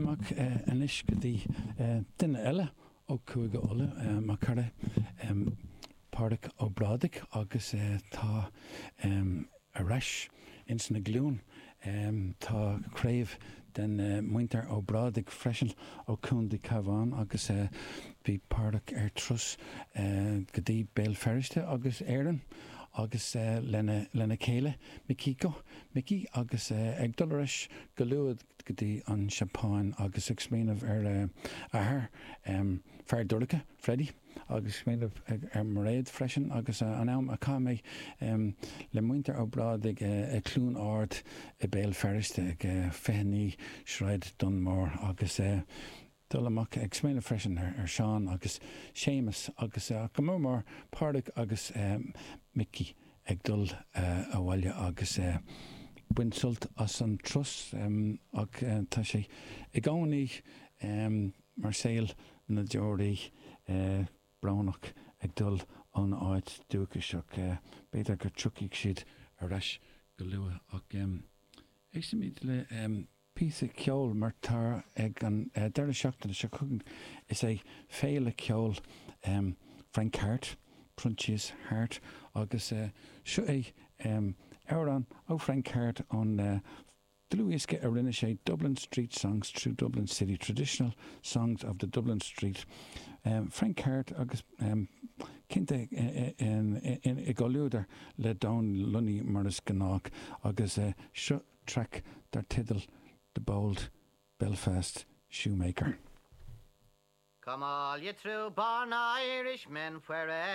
amach anois go dtí duine eile ó Chúige Uladh, mo chara Pádraig Ó Brádaigh agus tá ar ais ins na Glúin. Tá craobh den muintir Ó Brádaigh freisin ó Chontae Cabhán agus bhí Pádraig ar turas go dtí Béal Feirste agus Éirinn agus lena lena chéile Mikiko, Mickey, agus ag dul ar ais go luath go dtí an Seapáin agus ag smaoineamh ar a athair, Fear Dorcha, Freddie. Agus smaoineamh ar Mairéad freisin agus an am a chaith mé le muintir Ó Brádaigh i Cluain Ard i Béal Feirste ag 29 Sráid Dunmore agus dul amach ag smaoineamh freisin ar Seán agus Séamus agus go mór mór Pádraig agus Micí ag dul abhaile agus baint sult as an turas ach tá sé i gcónaí mar saol na deoraí brónach ag dul óna áit dúchais ach b'fhéidir go dtiocfaidh siad ar ais go luath ach éistfimid le píosa ceoil mar tá ag an deireadh seachtaine seo chugainn is é Féile Ceoil Frank Harte, Proinsias Harte agus seo é amhrán ó Frank Harte ón Dlúthdhiosca a rinne sé Dublin Street Songs Through Dublin City, Traditional Songs of the Dublin Street, Frank Harte agus cinnte i gcomhluadar le Donie Lunny mar is gnách agus seo traic dar teideal The Bold Belfast Shoemaker. Come all ye true born Irishmen wherever.